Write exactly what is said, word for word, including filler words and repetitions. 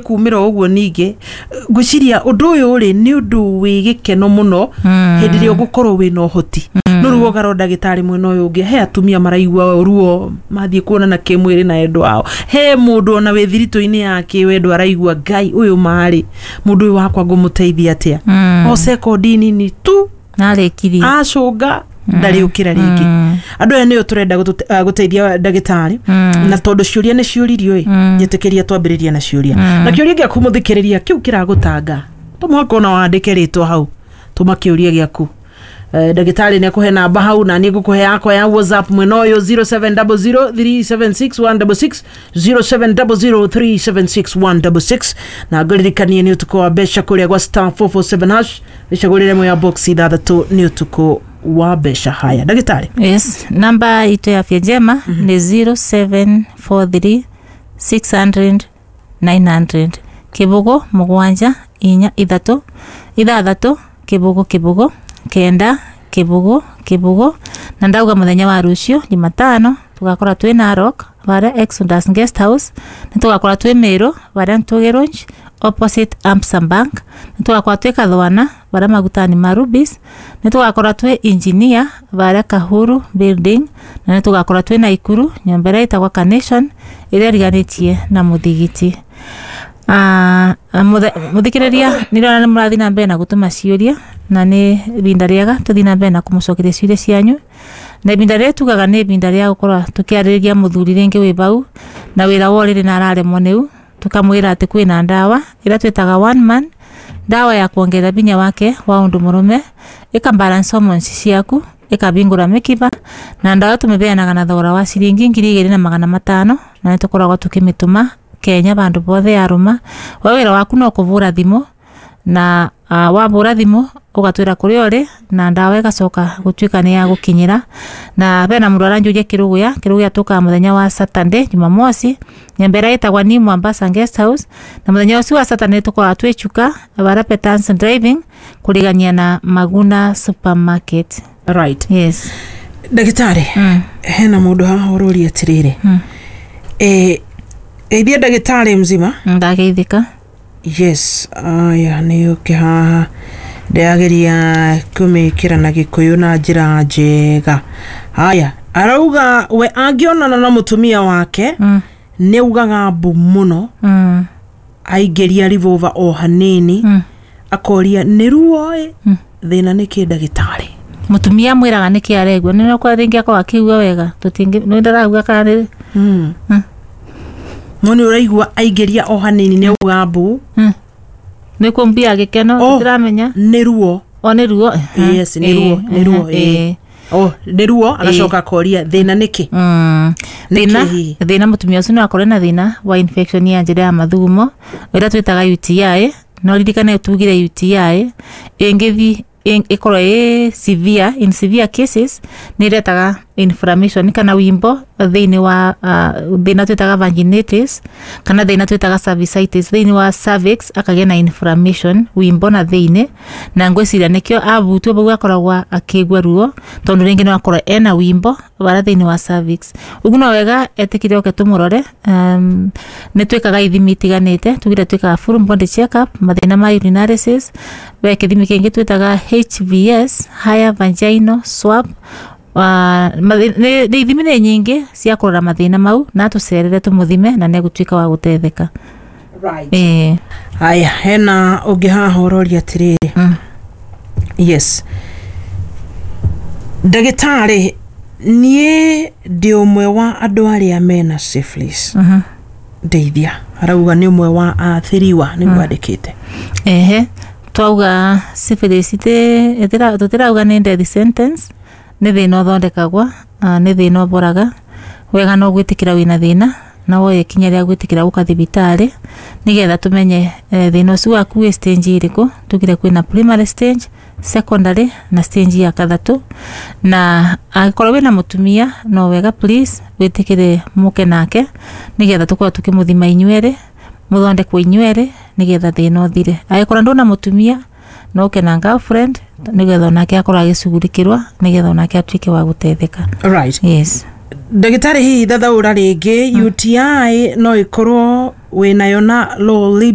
Kumĩra ũguo ningĩ ngwĩciria ũndũ ũyũ rĩ, nĩ ũndũ wĩ gĩkeno mũno hĩndĩ ĩrĩa ũgũkorwo wĩna ũhoti. No rĩu ũgarwo ndagĩtarĩ, mwena ũyũ ũngĩ he atumia maraigua ruo mathiĩ kuonana kĩmwĩrĩ na endwa ao. He mũndũ ona wĩ thiritũ-inĩ ya kĩwendo araigua, "Ngai ũyũ marĩ mũndũ ũyũ wakwa, ngũmũteithia atĩa?" O sekondi nini tu narĩkirie. Acũnga ndarĩũkĩra rĩngĩ. Andũ aya nĩo tũrenda gũtũte- ah, gũteithia, ndagĩtarĩ, na tondũ ciũria nĩ ciũririo ĩ, njĩtĩkĩria twambĩrĩria na ciũria. Na kĩũria gĩaku, mũthikĩrĩria, kĩu kĩragũtanga, to mũhaka ona wandĩke rĩtwa hau. Tũma kĩũria gĩaku. Eh, ndagĩtarĩ nĩ akũhe namba hau, na niĩ ngũkũhe yakwa ya WhatsApp mwena ũyũ, zero seven zero zero three seven six one six six, zero seven zero zero three seven six one six six. Na ngũririkanie nĩ ũtukũ wa mbeca kũrĩa gwa star four four seven hash, wĩcagũrĩre ĩmwe ya box ithathatũ. Nĩ ũtukũ wa mbeca. Haya, ndagĩtarĩ. Yes, namba itũ ya Afya Njema nĩ zero seven four three six hundred nine hundred, kĩbũgũ mũgwanja inya ithatũ ithathatũ kĩbũgũ kĩbũgũ kenda kĩbũgũ kĩbũgũ. Na ndauga mũthenya wa rũciũ Jumatano tũgakora twĩ Narok varia Exodus Guest House, nĩ tũgakora twĩ Meru varia Ntũgĩ Lounge opposite Amsa Bank, nĩ tũgakora twĩ Kathwana varia magutani ma Rubis, nĩ tũgakora twĩ Engineer varia Kahuru Building, na nĩ tũgakora twĩ Naikuru nyũmba ĩrĩa ĩtagwa Carnation ĩrĩa ĩriganĩtie na mũthigiti. Ah, mũthe- mũthikĩrĩria, nĩ ndĩrona nĩ mũrathiĩ na mbere na gũtũma ciũria, na nĩ ibinda rĩega tũthiĩ na mbere na kũmũcokeria ciũria cianyu. Na ibinda rĩrĩ tugaga nĩ ibinda rĩa gũkorwo tũkĩarĩrĩria mũthuri rĩngĩ wĩ bau na wĩra wa ũrĩrĩ na araremwo nĩu, tũkamwĩra atĩ kwĩna ndawa ĩrĩa twĩtaga One Man, ndawa ya kuongerera binya wake wa ũndũ mũrũme, ĩka balance hormones ciaku, ĩkabingũra mĩkiba. Na ndawa tũmĩbeanaga na thogora wa ciringi ngiri igĩrĩ na magana matano, na nĩ tũkoragwo tũkĩmĩtũma Kenya bandũ bothe yarũma. We wĩra waku no kũbũra thimũ, na uh, wabũra thimũ ũgatwĩra kũrĩa ũrĩ, na ndawa ĩgacoka gũtuĩka nĩ ya gũkinyĩra. Na bena mũndũ aranjũria Kĩrũgũya. Kĩrũgũya tũkaga mũthenya wa Saturday, Jumamosi, nyũmba ĩrĩa ĩtagwa New Mombasa Guest House. Na mũthenya ũcio wa Saturday tũkoragwo twĩ Chuka bara Petans Driving kũrigania na Maguna Supermarket. Right. Yes. Ndagĩtarĩ, mm. hena mũndũ haha ũroria atĩrĩrĩ, Mm. eh, geithia ndagĩtarĩ mzima. Ndageithĩka. Yes, aya nĩ ũke haha, ndĩrageria kũmĩkĩra na Gĩkũyũ na njĩra njega. Haya, arauga we angĩonana na mũtumia wake mm. nĩ augaga mbu mũno Mm. aingĩria revolver o hanini. Mm. Akoria nĩ ruo ĩ, Mm. thĩna nĩ kĩ, ndagĩtarĩ? Mũtumia mwĩraga nĩkĩ aregua nĩ kwa rĩngĩ akorwo akĩigua wega, tũtingĩ nĩ ndarauga kana nĩ mm. Mm. No nĩ ũraigua aingĩria o hanini nĩ auga mbu. Mm. Nĩ kũmbia gĩkeno. Oh. Tũtiramenya. Nĩ ruo. O nĩ ruo. Yes, nĩ ruo, nĩ ruo, ĩĩ. Oh, nĩ ruo. Agacoka akoria thĩna nĩkĩ. Mm. Nĩkĩ Thĩna hihi? Thĩna mũtumia ũcio no akorwo na thĩna wa infection ya njĩra ya mathugumo ĩrĩa twĩtaga U T I. No ririkane tugire U T I ĩngĩthi ĩkorwo ĩ severe, in severe cases nĩ ĩretaga inflammation kana wimbo thĩinĩ wa uh, thĩna twĩtaga vaginitis kana thĩna twĩtaga cervicitis thĩinĩ wa cervix, akagĩa na inflammation, wimbo na thĩinĩ. Na ngwĩciria nĩkĩo abutwo bau akoragwo akĩigua ruo, tondũ rĩngĩ no akorwo ena wimbo bara thĩinĩ wa cervix. Ũguo no wega etĩkire oke tũmũrore. um, nĩ twĩkaga ithimi itiganĩte. Tugire twĩkaga full body check up, mathĩna ma urinalysis, we kĩthimi kĩngĩ twĩtaga H V S, higher vaginal swab. Uh, nĩ nĩ ithimi nĩ nyingĩ cia kũrora mathĩna mau, na tũcerere tũmũthime na nĩegũtuĩka wa gũteithĩka. Right. Ĩĩ. Haya, hena ũngĩ haha ũroria atĩrĩrĩ. Mm. Yes, ndagĩtarĩ, niĩ ndĩ ũmwe wa andũ arĩa mena syphilis. Mhm. Ndeithia. Arauga nĩ ũmwe wa athĩriwa, nĩguo andĩkĩte. Ehe, twauga syphilis iti- ĩtira- tũtirauga nĩ death sentence. Nĩ thĩna ũthondekagwa, ah, nĩ thĩna ũboraga. Wega no gwĩtĩkĩra wĩna thĩna na woye ikinya rĩa gwĩtĩkĩra gũka thibitarĩ nĩgetha tũmenye eh, thĩna ũcio waku wĩ stage ĩrĩkũ. Tugire kwĩna primary stage, secondary na stage ya kathatũ. Na angĩkorwo wĩna mũtumia, no wega please wĩtĩkĩre mũke nake nĩgetha tũkorwo tũkĩmũthima inyuerĩ, mũthondekwo inyuerĩ nĩgetha thĩna ũthire. Angĩkorwo ndũna mũtumia, no ũke na girlfriend nĩgetha onake akorwo agĩcugurikĩrwo nĩgetha onake atuĩke wa gũteithĩka. Right. Yes. Ndagĩtarĩ, hihi thathaũra rĩngĩ, U T I no ĩkorwo wĩnayo na low libido?